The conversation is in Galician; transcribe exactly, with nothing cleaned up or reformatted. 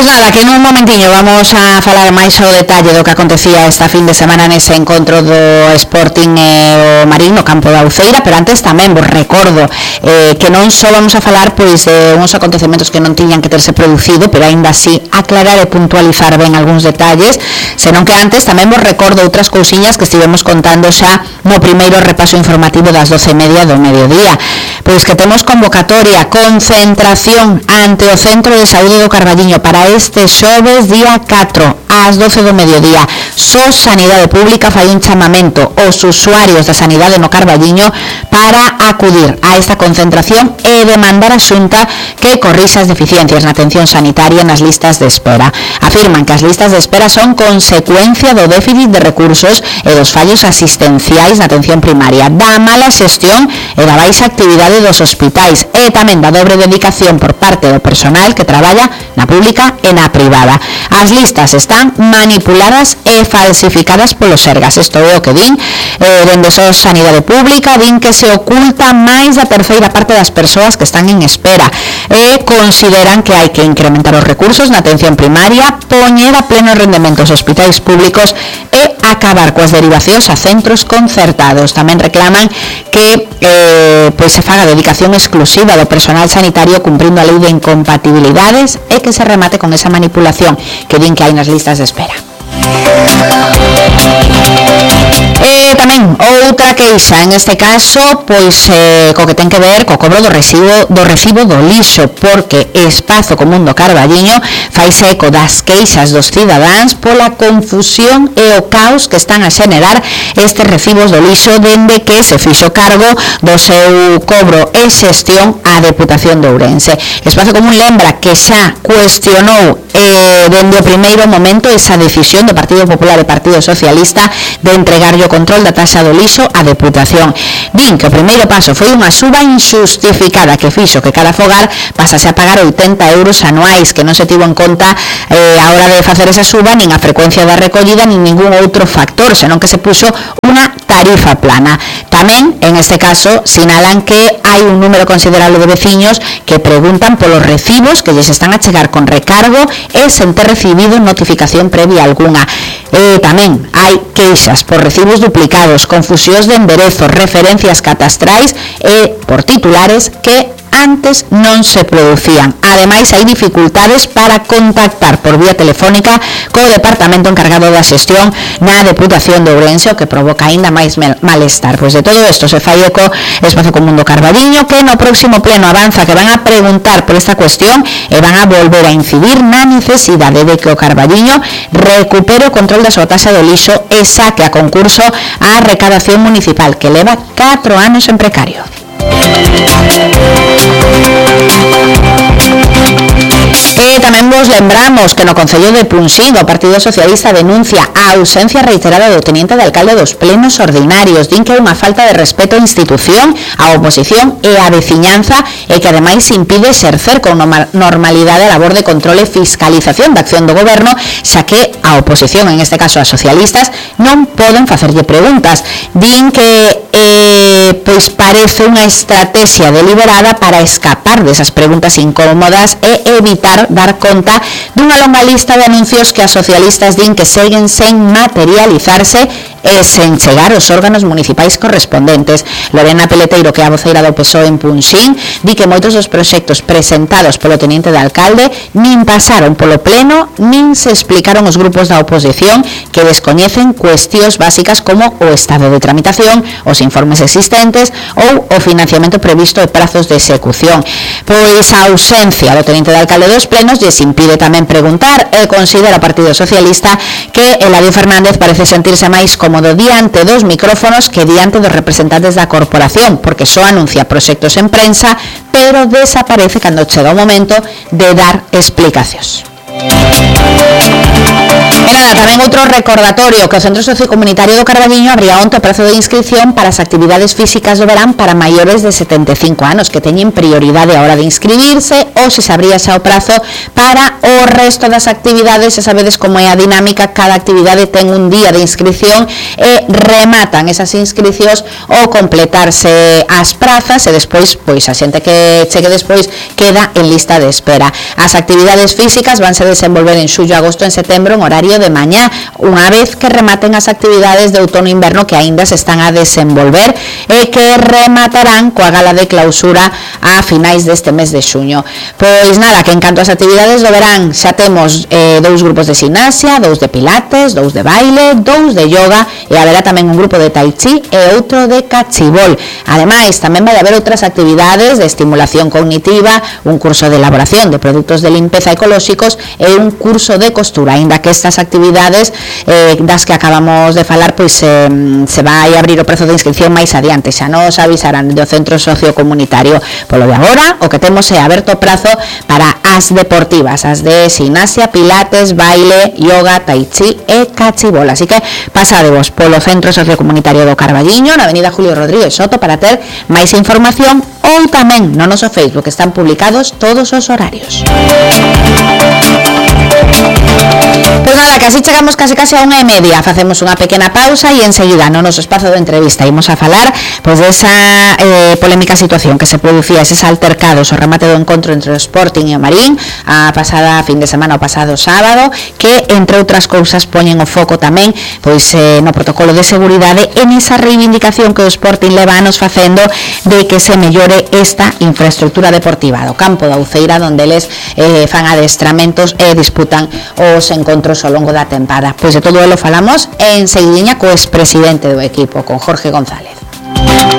Pois nada, que nun momentiño vamos a falar máis ao detalle do que acontecía esta fin de semana nese encontro do Sporting e o Marín no campo da Uceira, pero antes tamén vos recordo eh, que non só vamos a falar pois de uns acontecementos que non tiñan que terse producido, pero aínda así aclarar e puntualizar ben algúns detalles, senón que antes tamén vos recordo outras cousiñas que estivemos contando xa no primeiro repaso informativo das doce e media do mediodía. Pois que temos convocatoria, concentración ante o Centro de Saúde do Carballiño para este xoves día catro ás doce do mediodía. Só Sanidade Pública fai un chamamento aos usuarios da sanidade no Carballiño para acudir a esta concentración e demandar a Xunta que corrixa as deficiencias na atención sanitaria nas listas de espera. Afirman que as listas de espera son consecuencia do déficit de recursos e dos fallos asistenciais na atención primaria, da mala xestión e da baixa actividade dos hospitais e tamén da dobre dedicación por parte do personal que traballa na pública e na privada. As listas están manipuladas e falsificadas polos Sergas. Isto é o que din eh, dende só Sanidade Pública, din que se oculta máis da terceira parte das persoas que están en espera e consideran que hai que incrementar os recursos na atención primaria, poñer a pleno rendemento os hospitais públicos e acabar coas derivacións a centros concertados. Tamén reclaman que eh, pois se faga dedicación exclusiva do personal sanitario cumprindo a lei de incompatibilidades e que se remate con esa manipulación que din que hai nas listas de espera. E tamén outra queixa, en este caso, pois eh, co que ten que ver co cobro do recibo do recibo do lixo, porque Espazo Común do Carballiño faise eco das queixas dos cidadáns pola confusión e o caos que están a xenerar estes recibos do lixo dende que se fixo cargo do seu cobro e xestión á Deputación de Ourense. Espazo Común lembra que xa cuestionou eh, dende o primeiro momento esa decisión do Partido Popular e Partido Socialista de entregarlle o control da taxa do lixo á Deputación. Din que o primeiro paso foi unha suba injustificada que fixo que cada fogar pasase a pagar oitenta euros anuais, que non se tivo en conta eh, a hora de facer esa suba nin a frecuencia da recollida nin ningún outro factor, senón que se puxo unha tarifa plana. Tamén, en este caso, sinalan que hai un número considerable de veciños que preguntan polos recibos que lles están a chegar con recargo e sen ter recibido notificación previa algunha. E tamén hai queixas por recibos duplicados, confusións de enderezos, referencias catastrais e por titulares que antes non se producían. Ademais, hai dificultades para contactar por vía telefónica co departamento encargado da xestión na Deputación de Ourense, o que provoca aínda máis malestar. Pois de todo isto se fai eco Espazo Común do Carballiño, que no próximo pleno avanza que van a preguntar por esta cuestión e van a volver a incidir na necesidade de que o Carballiño recupere o control da súa taxa do lixo e saque a concurso a recadación municipal, que leva catro anos en precario. E tamén vos lembramos que no Concello de Punxín o Partido Socialista denuncia a ausencia reiterada do teniente de alcalde dos plenos ordinarios. Din que é unha falta de respeto á institución, á oposición e á veciñanza e que ademais impide exercer con normalidade a labor de control e fiscalización da acción do goberno, xa que a oposición, en este caso as socialistas, non poden facerlle preguntas. Din que eh, pois parece unha estrategia deliberada para escapar desas preguntas incómodas e evitar dar conta dunha longa lista de anuncios que as socialistas din que seguen sen materializarse e sen chegar aos órganos municipais correspondentes. Lorena Peleteiro, que é a voceira do P S O E en Punxín, di que moitos dos proxectos presentados polo teniente de alcalde nin pasaron polo pleno, nin se explicaron os grupos da oposición, que descoñecen cuestións básicas como o estado de tramitación, os informes existentes ou o financiamento previsto e prazos de execución. Pois a ausencia do teniente de alcalde dos plenos lles impide tamén preguntar e considera o Partido Socialista que Eladio Fernández parece sentirse máis cómodo diante dos micrófonos que diante dos representantes da corporación, porque só anuncia proxectos en prensa, pero desaparece cando chega o momento de dar explicacións. E nada, tamén outro recordatorio que o Centro Sociocomunitario do Carballiño abría onte o prazo de inscripción para as actividades físicas do verán para maiores de setenta e cinco anos, que teñen prioridade a hora de inscribirse, ou se se abría xa o prazo para o resto das actividades. E sabedes como é a dinámica, cada actividade ten un día de inscripción e rematan esas inscripcións ao completarse as prazas, e despois, pois a xente que chegue despois queda en lista de espera. As actividades físicas vanse desenvolver en xullo, agosto, en setembro, en horario de mañá, unha vez que rematen as actividades de outono e inverno que aínda se están a desenvolver e que rematarán coa gala de clausura a finais deste mes de xuño. Pois nada, que en canto ás actividades do verán xa temos eh, dous grupos de gimnasia, dous de pilates, dous de baile, dous de yoga, e haberá tamén un grupo de tai chi e outro de cachibol. Ademais, tamén vai haber outras actividades de estimulación cognitiva, un curso de elaboración de produtos de limpeza ecolóxicos e un curso de costura, aínda que estas actividades eh, das que acabamos de falar, pois eh, se vai abrir o prazo de inscripción máis adiante, xa nos avisarán do Centro Sociocomunitario. Polo de agora, o que temos é aberto o prazo para as deportivas, as de gimnasia, pilates, baile, yoga, tai chi e cachibol. Así que pasadevos polo Centro Sociocomunitario do Carballiño, na avenida Julio Rodríguez Soto, para ter máis información, ou tamén no noso Facebook están publicados todos os horarios. Pois nada, que así chegamos case case a unha e media. Facemos unha pequena pausa e enseguida no noso espazo de entrevista imos a falar pois desa eh, polémica situación que se producía, eses altercados, o remate do encontro entre o Sporting e o Marín a pasada fin de semana, o pasado sábado, que entre outras cousas poñen o foco tamén pois eh, no protocolo de seguridade en esa reivindicación que o Sporting leva anos facendo de que se mellore esta infraestructura deportiva do campo da Uceira, onde eles eh, fan adestramentos e disputan os encontros ao longo da tempada. Pois de todo elo falamos en seguidinha co expresidente do equipo, con Jorge González.